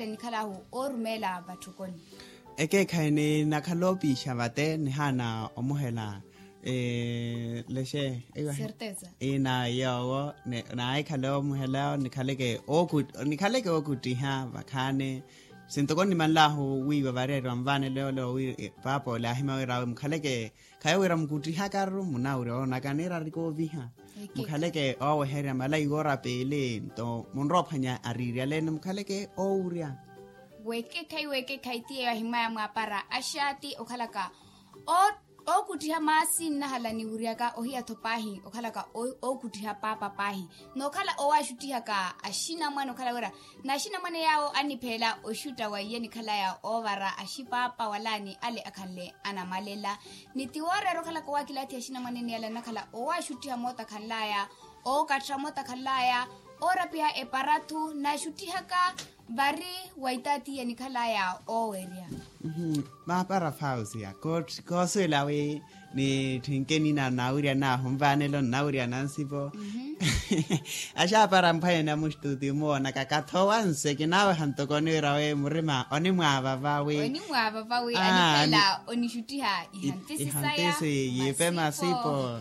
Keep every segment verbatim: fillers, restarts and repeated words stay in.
enikhalaahu oorumeela vatthukoni. Ekeekhayi ninakhala oopiixa vate nihaana omuhela. Lexe. Certeza. Inawe yoowo. Nawe ekhale omuhela nikhaleke nikhaleke ookuttiha vakhaani. Sintoko nnimanlaahu wiiwa vareeriwa nvaanelo yoole wi paapa ole aahimya wira awe mukhaleke khayo wira mukuttihakaru munawurya woonaka niirari kooviha. Mukhaleke ooweherya malaiwa orapeele nto munroophwanya ariiryaleene mukhaleke oowurya. Weekekhayi weekekhayi ti yeeyo ahimwaya mwaapara axaati okhalaka ookuttiha maasi nnahala niwuryaka ohiya-tho paahi okhalaka ookuttiha paapa paahi. Nookhala owaaxuttihaka axinamwane okhala wira n'axinamwane yaawo annipheela oxutta wa iye nikhalaya oovara axipaapa walaani ale akhanle anamalela. Ni ti wooreera okhalaka owaakilaathiha axinamwanene yala nnakhala owaaxuttiha mootakhanlaya ookattha mootakhanlaya oorapiha epara-thu n'axuttihaka vari wa itaatiya nikhalaya oowerya. Maapara fausia koosuwela wi nitthinkeni na nawiryanaahu nvaanelo nnawirya nansipo. Axaapara mphwanyani amuxtuutiyu moonaka kathowa nse kinaaweha ntoko oniwira wi murima onimwaavava wi onimwaavava wi anipela onixuttiha ihantisi saya ihantisi yiipe masipo.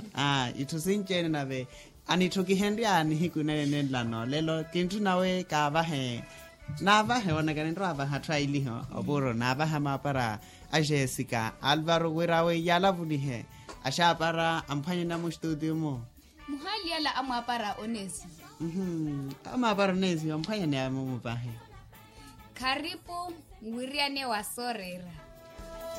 Itthu sinci-ene nave anitthukihenrya nihiku nene nenla noolelo kintthuna wi kaavahe naavahe woonaka ninrowa avaha atthu ailiho opuro naavaha maapara a jessica alvaro wira wi yaalavulihe axaapara amphwanyani amuxtuutiyu-mu. Muhaaliyala amwaapara oneesiwa. Amwaapara oneesiwa mphwanyani amumu paahi. Kharipu nwiriyane wa sooreera.